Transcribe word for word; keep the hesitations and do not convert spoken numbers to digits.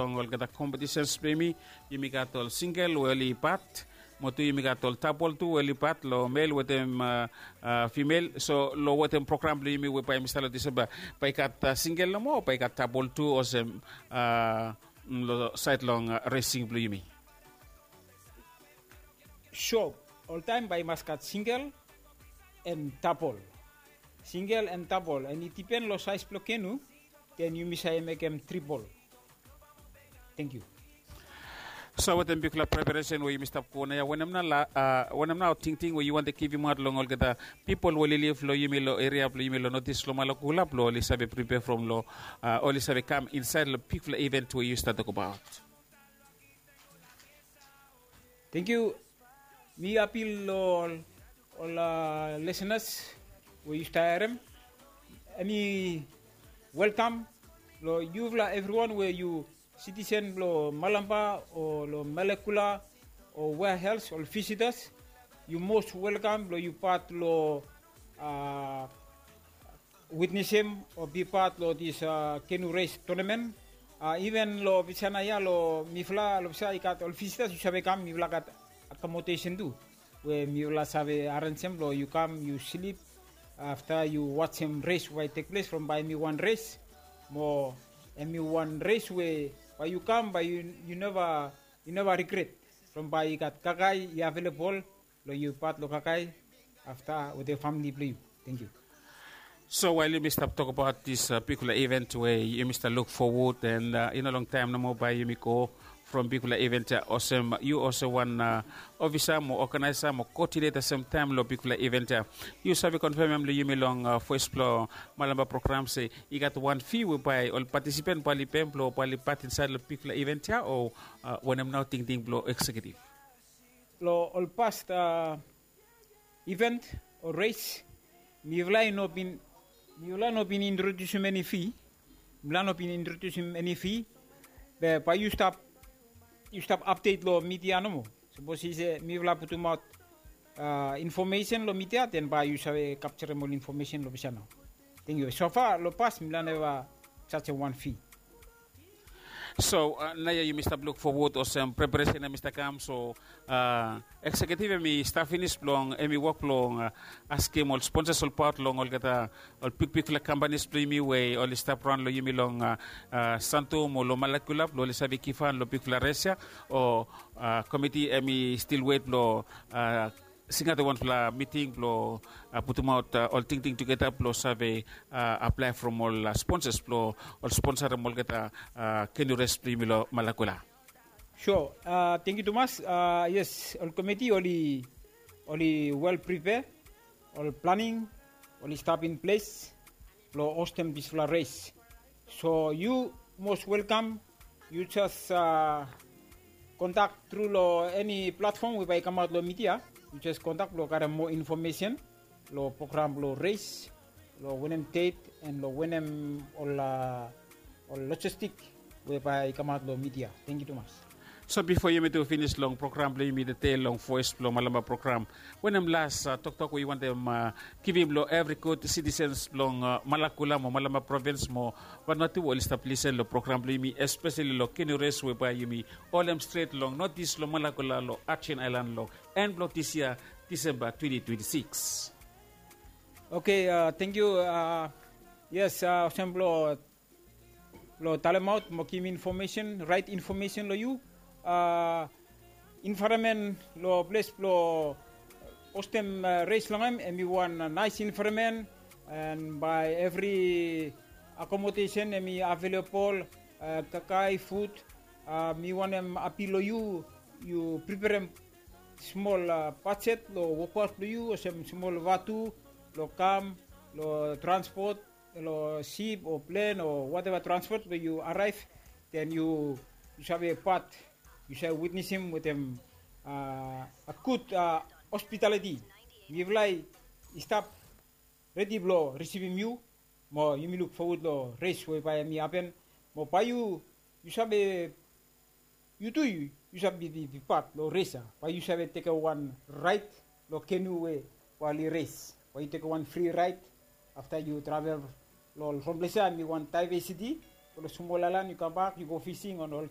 long olgeta kompetisens blong yumi, yumi gat ol singel we oli pat, mo tu yumi gat ol tapol tu we oli pat long mel wetem fimel. So long wetem program blong yumi we bae yumi stap long Disemba, bae i gat singel nomo o bae i gat tapol tu olsem long saed long resing blong yumi? So oltaem bae i mas gat singel en tapol. Singel en tapol, en i dipen long saes blong kenu, den yumi save mekem tripol. Tangkiu. So wetem bigfala preparesen we yumi stap go naoia, wanem nao tingting we yu wantem givimaot long olgeta pipol we oli liv long yumi long eria blong yumi long notis long Malakula blong oli save pripea from long oli save kam insaed long bigfala iven we yu stap tokbaot? Tangkiu. Mi apil long ol lisenas we yu stap harem, hemi welkam long yufala evriwan we yu sitisen blong Malampa o long Malakula o wea els, ol visitas, yu mos welkam blong yu pat long witnesem o bipat long dis kenu res tonamen. Iven long Visana ya long mifala long Visa i gat ol visitas, yu save kam, mifala gat akomodesen tu we mifala save arenjem blong yu kam yu slip afta yu wajem res we bae i tekples from bae hemi wan res mo hemi wan res we bae yu kam bae yu neva yu neva rigret from bae i gat kakae i avelebol long yu pat long kakae afta wetem famili blong yu. Tangkiu. So wael yumi stap tokbaot dis bigfala iven we yumi stap luk fowod, en i no longtaem nomo bae yumi go from bigfala iven ya olsem yu olsem wan ofisa mo oganaesa mo koodineta semtaem long bigfala iven ya. Yu save konfemem long yumi long fes blong Malampa program se i gat wan fi we bae ol patisipen bae oli pem blong bae oli pat insaed long bigfala iven ya, o wanem nao tingting blong eksekiutiv? Long ol past iven o res, mifala i no bin mifala i no bin introdiusim eni fi. Mifala i no bin introdiusim eni fi. Be bae yu stap yu stap apdet long midia nomo. Sapos i se mifala putumaot infomesen long midia, den bae yu save kapjarem ol infomesen long Visa nao. Tangkiu. Sofa long pas mifala neva jajem wan fi. So naoia yumi stap luk fowod olsem preparesen hemi stap kam, so eksekiutiv hemi stap finis blong hemi wok blong askem ol sponsas olbaot long olgeta ol bigbigfala kampanis blong yumi we oli stap raon long yumi long Santo mo long Malakula blong oli save givhan long bigfala res ya, o komiti hemi stil wet blong singaot wanfala miting blong putumaot ol tingting tugeta blong save aplae from ol sponsas blong ol sponsarem olgeta kenu res blong yumi long Malakula. So tangkiu tumas. Yes, ol komiti oli oli wel pripea, ol planing oli stap in ples blong hostem disfala res. So yu mos welkam, yu jes kontak tru long eni platfom we bae i kamaot long midia. Yu jes kontak blong karem moa infomesen long program blong res, long wanem det, en long wanem ol ol lojistik we bae i kamaot long midia. Tangkiu tumas. So bifo yumi tu finis long program blong yumi tede long voes blong Malampa program, wanem las toktok we yu wantem givim long evri gud sitisens blong Malakula mo Malampa provins mo Vanuatu we oli stap lisen long program blong yumi, espeseli long kenu res we bae yumi holem stret long notis long Malakula long Ajen Aelan long en blong dis yia, Disemba twenti twenti sikis? Oke, tangkiu. Yes, olsem blong blong talemaot mo givim infomesen, raet infomesen long yu. Envaeronmen long ples blong hostem res long hem, hemi wan naes envaeronmen, en bae evri akomodesen hemi avelebol, kakae, fud. Mi wantem apil long yu, yu priperem smol bajet long wokbaot blong yu, olsem smol vatu long kam, long transpot, long sip o plen o wateva transpot we yu araev, den yu save pat, yu save witnesem wetem a gud hospitaliti. Mifala i stap redi blong risivim yu, mo yumi luk fowod long res we bae hemi hapen. Mo bae yu yu save yu tu yu save bipat long res ya, bae yu save tekem wan raet long kenu we bae oli res. Bae yu tekem wan fri raet afta yu travel long ol somples ya, hemi wan daevesiti Smol aelan yu kambak yu go fising on ol